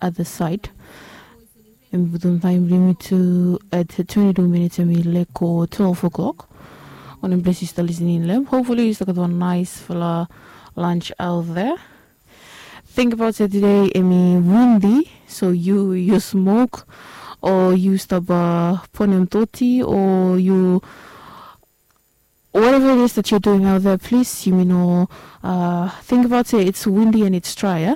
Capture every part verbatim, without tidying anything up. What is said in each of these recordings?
other side. Em i putum taem blong yumi tu at twenty two minutes em i lek go twelve o'clock. Wanem ples yu stap lisening long em, hopefully yu stap gat wan naesfala lunch out there. Tingbaot se tude em i windi, so yu yu smok o yu stap bonem doti o yu whatever it is that you're doing out there, please yumi no uh, think about say it's windy and it's dry, yeah?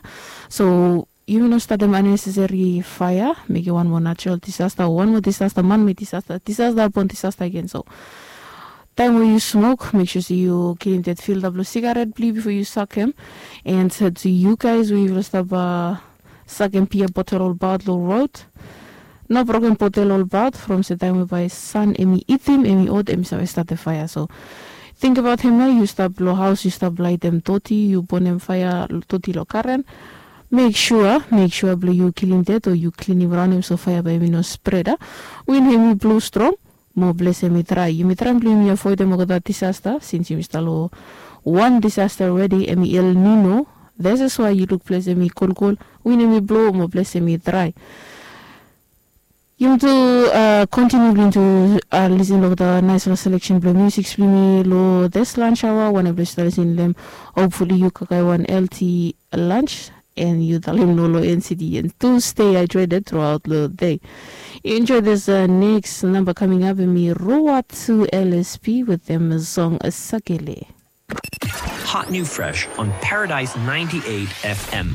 So yumi no statem unnecessary fire, mekem wan moa natural disaster o wan moa disaster, man made disaster, disaster upon disaster again. So taem we yu smok, make sure say yu kilim that filter blong sigaret blong yu before yu sakem. And uh, to you guys we yufala stap uh, sakem pia botel olbaot long road, no broken botel olbaot from se taem we bae san em i itim, em i ot, em i save statem faea. So tingbaot hem nao, yu stap long haos, yu stap laetem doti, yu bonem faea doti long karen. Mek sua mek sua blong yu kilim det o yu klinim raon hem so faea bae em i no spred a. Win hem i blo strong, mo ples hem i drae. Yumi traem blong yumi avoedem olgeta disasta sins yumi stap long wan disasta already, em i El Nino. That's why yu luk ples hem i kolkol, win hem i blo mo ples hem i drae. Yumi tu kontiniu blong yumi tu lisin long olgeta naesfala seleksen blong musiks blong yumi long this lunch aoa. Wanem ples yu stap lisin long hem, hopefully yu kakae wan healthy lunch. And yu talem no long NCD and to stay hydrated throughout the day. Enjoy this uh, next number coming up, em i Roa to L S P with them song Sakele. Hot new fresh on Paradise ninety-eight F M.